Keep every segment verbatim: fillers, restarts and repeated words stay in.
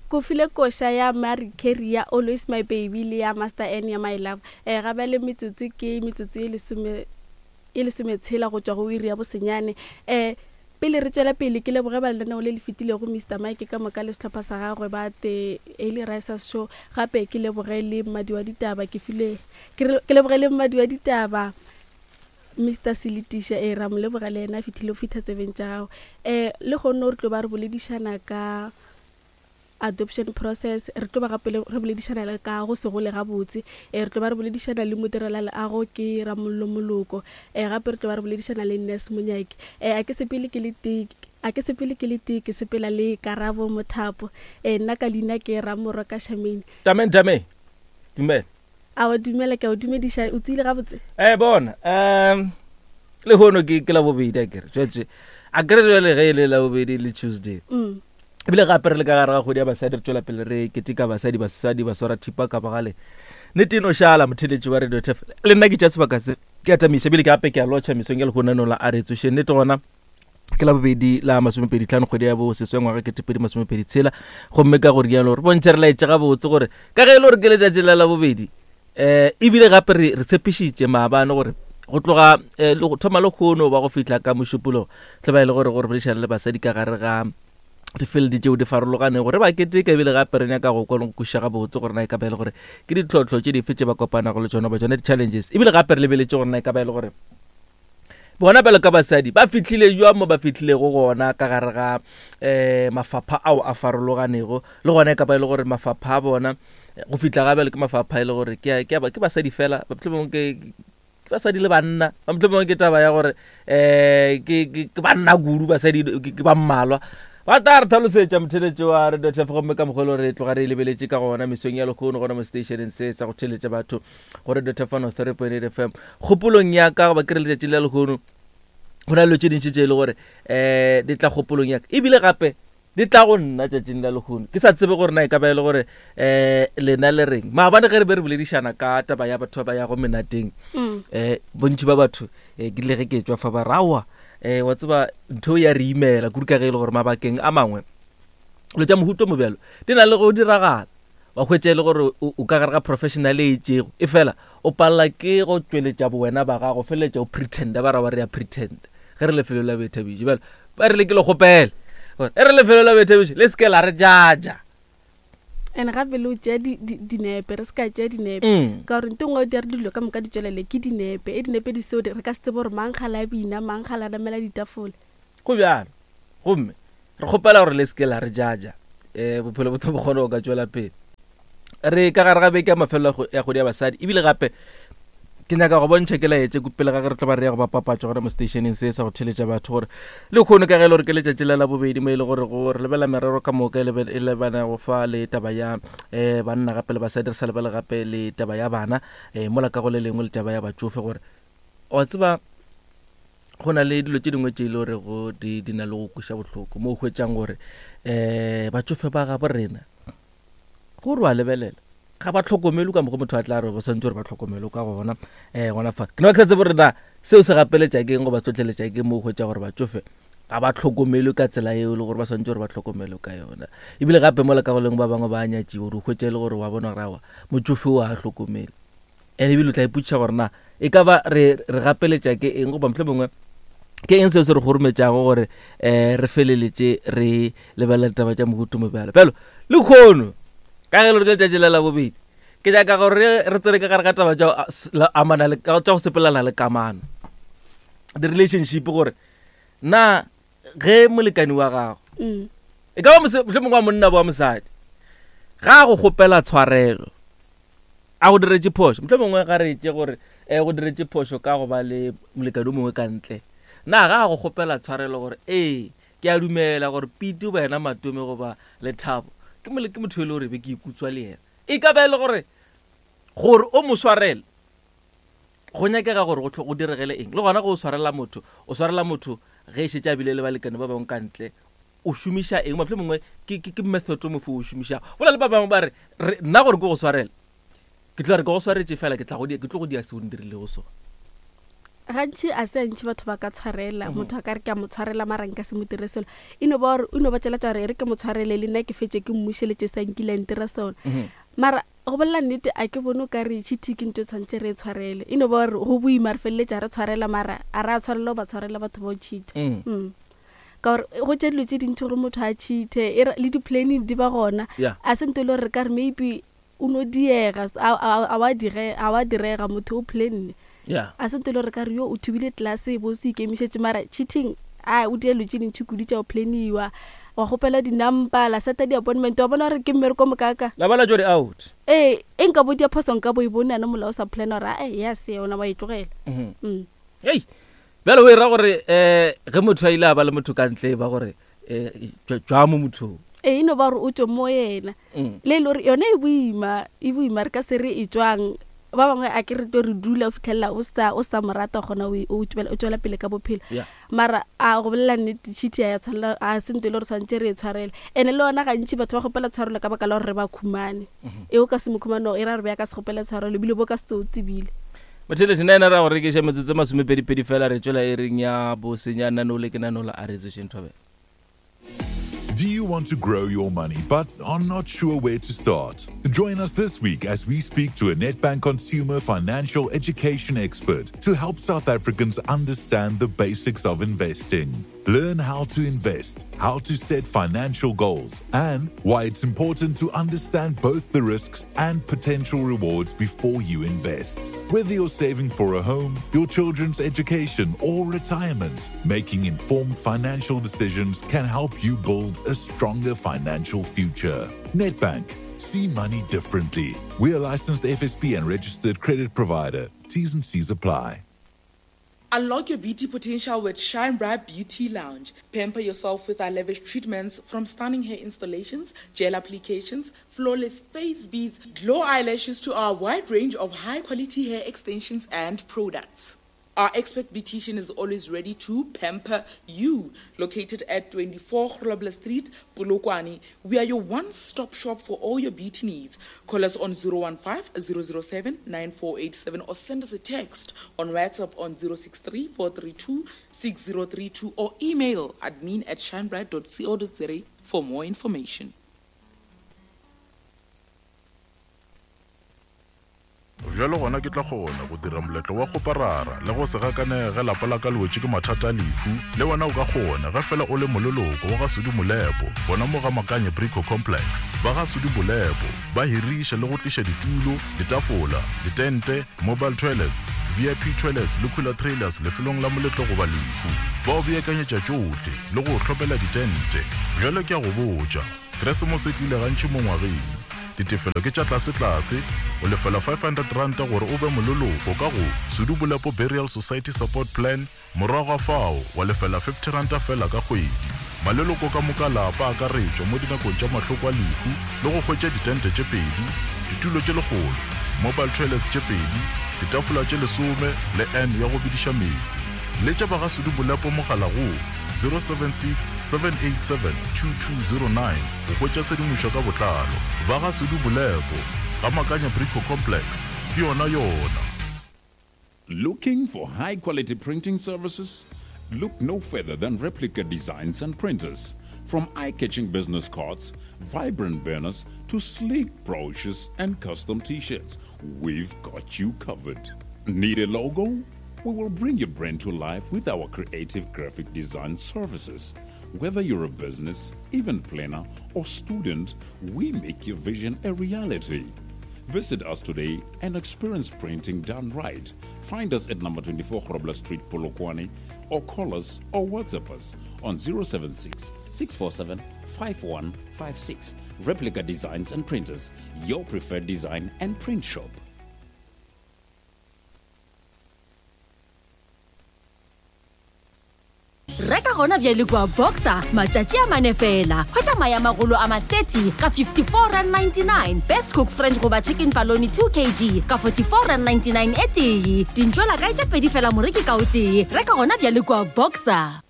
Ko file koša ya Mary Carey ya Always My Baby le ya Master N ya My Love. um Ga bjale metsotso ke metsotso e lesome e lesometshela go tšwa go iri ya bosenyane. um Pele re tšwela pele, ke leboge ba lenaneo le le fetilego Mister Mike ka moka le sehlopha sa gagwe ba The Early Risers Show. Gape ke leboge le mmadi wa ditaba ke file ke leboge le mmadi wa ditaba Mister Seletisha, ee ra mo leboga le yena a fihlile go fihla tsebeng tša gago. um Le kgonne re tlo ba re boledišana ka adoption process, re tlo ba gape re boledišana le ka go se gole gabotse, um re tlo ba re boledišana le modirela-leago ke Ramollo Moloko, um gape re tlo ba re boledišana le Nurse Monyaki. um A ke sepele ke le tee, a ke sepele ke le tee, ke sepela le Karabo Mothapo. um Nna ka leina ke Ramorwa ka Shamane. Tamen tame. Dumela. Awa dumela, ke a o dumediša, o tsile gabotse? Eh bona, um le hono ke ke la bobedi a kere. Jwetse a kere jwale ge e le la bobedi le Tuesday. Mm. Ebile gape re le ka gare ga kgwedi ya basadi, re tšwela pele re keteka basadi, basadi ba swara thipa ka bogale. Nnete e no šala motheletši wa Radio T F. Le nna ke tša sebaka se ke a tamiša ebile ke gape ke a lotšha mesong ya lehono la a re tsoše. Nnete gona ke la bobedi la masomepedi tlhano kgwedi ya bo seswe ngwaga ketepedi masomepedi tshela. Gomme ka gore jalo re bontšhe re laetše gabotse gore ka ge e le gore ke letšatši la la bobedi, um ebile gape re re tshepišitše maabane gore go tloga eh, le go thoma le kgono ba go fihla ka mošupologo tle ba e le gore gore boledišana le basadi ka gare ga difield tšeo di farologanego re ba keteka, ebile gape re nyaka go kwa le go kwešiša gabotse gore na e ka ba e le gore ke ditlhohlo tše dife tše ba kopanago le tšona, ba tšona di-challenges, ebile gape re lebeletše gore na e ka ba e le gore bona bjalo ka basadi ba fihlile jwang mo ba fihlilego gona ka gare ga um mafapha ao a farologanego, le gona e ka ba e le gore mafapha a bona go fihla ga bjale ke mafapha e le gore ke ke ke basadi fela, mohlomongwe ke ke basadi le banna, mohlomongwe ke taba ya gore um ke ke banna kudu, basadi ke ba mmalwa. Ba tla re tlhalosetša motheletši wa Radio T F, gomme ka mokgwa e le gore re tloga re e lebeletše ka gona mesong ya lehono gona mo stationeng se sa go theletša batho go Radio T F one oh three point eight F M. Kgopolong ya ka goba ke re letšatši la lehono go na le dilo tše dintši tše e le gore um di tla kgopolong ya ka, ebile gape di tla go nna tšatšing la lehono. Ke sa tsebe gore na e ka ba e le gore um lena le reng. Maabane ge re be re boledišana ka taba ya batho ba ba yago menateng, um bontši ba batho um ke ile ge ke tšwa fa ba re aowa, um wa tseba ntho ya re imela kudu ka ge e le gore mabakeng a mangwe dilo tša mohuta mo bjalo di na le go diragala, wa hwetša e le gore o ka gare ga professional e itšego, e fela o palela ke go tšweletša bowena ba gago, feleletša o pretenda, ba ra wa re ya pretend ge re lefelo la boithabišo. Bjalo ba re le ke le kgopele gore e re lefelo la boithabišo le se ke la re jaja. And gape le o tšea dinepe, re se ka tšea dinepe ka gore nte nngwe o dira dilo ka moka di tšwelele ke dinepe, e dinepe di seo re ka se tsebe gore mang gala a bina, mang gala a namela ditafole. Go bjalo, gomme re kgopela gore le se ke la re jaja, um bophelo bo tlo bo kgone go ka tšwela pele. Re ka gare ga beke ya mafelelo ya kgwedi ya basadi, ebile gape ke nyaka go bontšha ke laetše ko pele ga ge re tlo ba re ya go ba papatša gona mo stationeng se sa go theletša batho gore le kgono ka ge e le gore ke letšatši la la bobedi mo e le gore go re lebela merero ka moka e lebana go fa le taba ya um banna gape le basadi, re sa lebele gape le taba ya bana, um mola ka go le lengwe le taba ya batšofe, gore wa tseba go na le dilo tše dingwe tše e le gore go di di na le go kweša bohloko mo o hwetšang gore um batšofe ba gabo rena gore wa lebelela ga ba tlhokomelwe ka mokgwa motho a tla re ba santse gore ba tlhokomelwe ka gona. um gona fa ke ne ba ke sa tsebe gore na seo se gapeletša keng goba se tlhotlheletša keng mo o hwetša gore batšofe ga ba tlhokomelwe ka tsela eo e le gore ba santse gore ba tlhokomelwe ka yona. Ebile gape mola ka go lengwe ba bangwe ba nyatšiwa gore o hwetša e le gore wa bona gore aowa motšofe o a hlokomele, and ebile o tla ipotšiša gore na e ka ba re re gapeletša ke eng goba mohlomongwe ke eng seo se re kgorometšago gore um re feleletše re lebelela ditaba tša mohuta mo bjalo. Bjalo le kgono ka ge le gore ke letšatši la la bobedi, ke nyaka gore re tsene ka gare ga taba tša amana le tša go sepelana le kamano, di-relationship, gore na ge molekani wa gago e ka ba mohlomongwe wa monna bo wa mosadi ga a go kgopela tshwarelo a go diretše phošo, mohlomongwe ga re tše gore um go diretše phošo ka go ba le molekani o mongwe ka ntle, na ga a go kgopela tshwarelo gore ee ke a dumela gore Pete goba yena Matome goba Lethabo ke mole ke motho e le gore be ke ikutswa le yena, e ka ba e le gore gore o mo swarele go nyakega gore go go diregele eng? Le gona go o swarela motho, o swarela motho ge e šetše a bile le balekane ba bangwe ka ntle, o šomiša eng? Mohlomongwe ke ke ke method o mofe o šomišago? Go na le ba bangwe ba re nna gore ke go swarele ke tla re ke go swaretše fela ke tla go ke tlo go dia seo ndirilego sona. Gantši a se antši batho ba ka tshwarela, motho a ka re ke a mo tshwarela mara nka se mo dire selo. E no ba gore o no ba tšela tša gore e re ke mo tshwarele le nna ke fetše ke mmušeletše sa nkile a ntira sona. Mara go bolela nnete a ke bone o ka re cheating ke ntho e tshwanetse re e tshwarele. E no ba gore go boima re feleletša re tshwarela mara a re a tshwarela go ba tshwarela batho ba o cheat. Mm. Ka gore go tše dilo tše dintši gore motho a cheat-e, e re le di-planning di ba gona. A se ntho e le gore re ka re maybe o no diega, a, a, a wa dire, a wa direga motho o planne. Yeah. A se ntho e le gore ka re yo o thubile class bo se ikemišetše mara cheating a o dia dilo tše dintši kudu tša go planiwa, wa kgopela di-number, la seta di-appointment, wa bona gore ke mmereko mokaka. La bala jore out. Ee, e nka bo dia phoso nka bo e bone yana mola o sa plana gore ae yes yona wa e tlogela. Mm. Mm. Hei, bjale o e ra gore eh ge motho a ile a ba le motho ka ntle ba gore eh tšwa mo mothong. Ee, e no ba gore o tšwe mo yena. Mm. Le e le gore yona e boima, e boima re ka se re e tšwang. Ba bangwe a ke re tlo re dula o fitlhelela o sa o sa mo rata gona o o tšwela o tšwela pele ka bophelo. Yeah. Mara a go bolela nnete cheat ya tshwanela a se ntho e le gore tshwanetse re e tshwarele. Ene le yona gantši batho ba kgopela tshwarelo ka baka la gore re ba khumane. E o ka se mo khumane e ra re be ya ka se kgopela tshwarelo ebile bo ka se o tsebile. Motheletši nna ena ra go rekiša metsotso e masomepedipedi fela re tšwela e reng ya bosenyana no le ke nanola a re tsošeng thobela. Do you want to grow your money but are not sure where to start? Join us this week as we speak to a Nedbank consumer financial education expert to help South Africans understand the basics of investing. Learn how to invest, how to set financial goals, and why it's important to understand both the risks and potential rewards before you invest. Whether you're saving for a home, your children's education, or retirement, making informed financial decisions can help you build a stronger financial future. Nedbank. See money differently. We are licensed F S P and registered credit provider. T's and C's apply. Unlock your beauty potential with Shine Bright Beauty Lounge. Pamper yourself with our lavish treatments, from stunning hair installations, gel applications, flawless face beads, glow eyelashes to our wide range of high-quality hair extensions and products. Our expert beautician is always ready to pamper you. Located at twenty-four Grobler Street, Polokwane, we are your one-stop shop for all your beauty needs. Call us on zero one five, zero zero seven, nine four eight seven or send us a text on WhatsApp on zero six three, four three two, six zero three two or email admin at shinebright dot co dot za for more information. Bjalo gona ke tla kgona go dira moletlo wa go parara le go se gakane ge lapa la ka le wetše ke mathata a lehu. Le wena o ka kgona ge fela o le mololoko wa ga Sudi Molepo, gona mo ga Makanye Brico Complex. Ba ga Sudi Molepo ba hiriša le go tliša ditulo, ditafola, ditente, mobile toilets, V I P toilets le cooler trailers lefelong la moletlo goba lehu. Ba o beakanyetša tšohle le go hlopela ditente. Bjalo ke a go botša, Keresemose e tlile gantši mo ngwageng. Ditefelo ke tša tlase-tlase, o lefela five hundred rand gore o be mololoko ka go Sudi Molepo Burial Society Support Plan, morago ga fao wa lefela fifty rand fela ka kgwedi. Maleloko ka moka lapa a akaretšwa mo dinakong tša mahloko a lehu le go hwetša ditente tše pedi, ditulo tše lekgolo, mobile toilets tše pedi, ditafola tše lesome le N ya go bediša meetse. Letša ba ga Sudi Molepo mogala go zero seven six, seven eight seven, two two zero nine go hwetša tshedimošo ka botlalo. Ba ga Sudi Molepo, ga Makanya Brico Complex, ke yona yona. Looking for high quality printing services? Look no further than Replica Designs and Printers. From eye-catching business cards, vibrant banners, to sleek brochures and custom t-shirts, we've got you covered. Need a logo? We will bring your brand to life with our creative graphic design services. Whether you're a business, event planner, or student, we make your vision a reality. Visit us today and experience printing done right. Find us at number twenty-four Grobler Street, Polokwane, or call us or WhatsApp us on zero seven six, six four seven, five one five six. Replica Designs and Printers, your preferred design and print shop. Reka gona bjale kwa Boxer matšatši a mane fela. Hwetša maya magolo a ma thirty ka fifty-four rand ninety-nine. Best Cook French goba chicken paloni two kilograms ka forty-four rand ninety-nine e tee. Dintšwela kae tše pedi fela moreki ka o tee. Reka gona bjale kwa Boxer.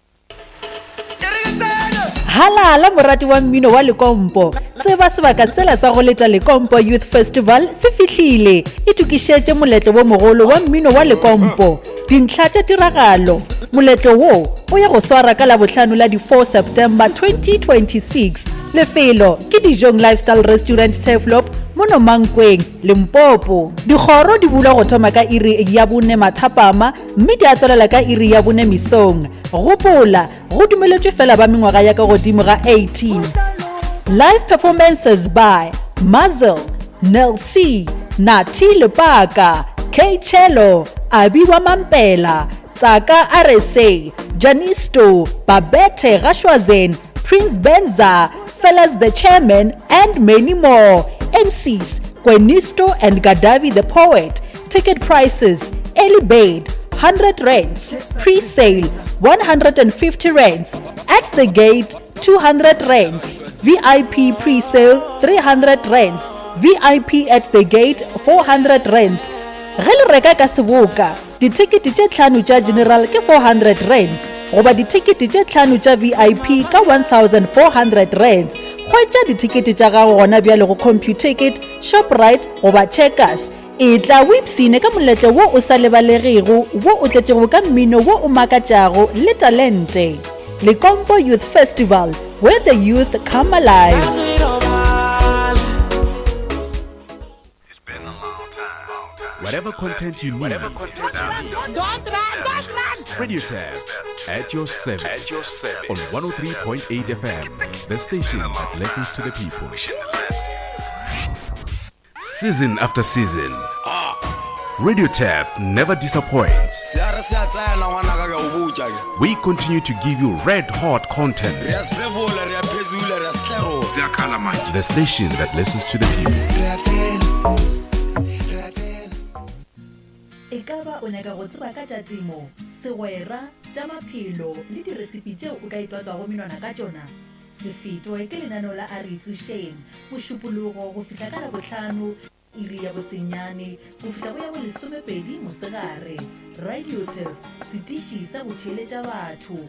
Halala morati wa mmino wa Lekompo. Tseba sebaka sela sa go leta Lekompo Youth Festival se fihlile. Itokišetše moletlo wo mogolo wa mmino wa Lekompo. Dintlha tša tiragalo. Moletlo wo o ya go swara ka Labohlano la di four September twenty twenty-six. Lefelo ke Dijong Lifestyle Restaurant Turfloop mono Mankweng, Limpopo. Dikgoro di bulwa go thoma ka iri ya bone mathapama mme di a tswalela ka iri ya bone mesong. Gopola, go dumeletšwe fela ba mengwaga ya ka godimo ga eighteen. Live performances by Mazel, Nel C, Nati Lepaka, K Chelo, Abiwa Mampela, Tsaka R S A, Janisto, Babette Rashwazen, Prince Benza, Fellas the Chairman, and many more. M Cs, Kwenisto and Gadavi the Poet. Ticket prices, early bird, hundred rands, pre-sale, one hundred and fifty rands, at the gate, two hundred rands, V I P pre-sale, three hundred rands, V I P at the gate, four hundred rands. Ge le reka ka seboka, dithekete tše tlhano tša general ke four hundred rands, goba dithekete tše tlhano tša V I P ka one thousand four hundred rands. Hwetša dithekete tša gago gona bjale go Computicket, Shoprite goba Checkers. E tla o ipsine ka moletlo wo o sa lebalegego, wo o tletšego ka mmino wo o makatšago le talente. Lekompo Youth Festival, where the youth come alive. Whatever content you need, Whatever content you need. Don't run, don't run. Radio Tap at your service, At your service. on one oh three point eight F M, the station that listens to the people. Season after season, Radio Tap never disappoints. We continue to give you red hot content. The station that listens to the people. E ka ba o nyaka go tseba ka tša temo, segwera, tša maphelo le diresipi tšeo o ka itwatswago menwana ka tšona? Se fetwe ke lenaneo la A Re Itsošeng, Mošupologo go fihla ka Labohlano, iri ya bosenyane go fihla go ya bo lesomepedi mosegare. Radio Turf, setiši sa go theeletša batho.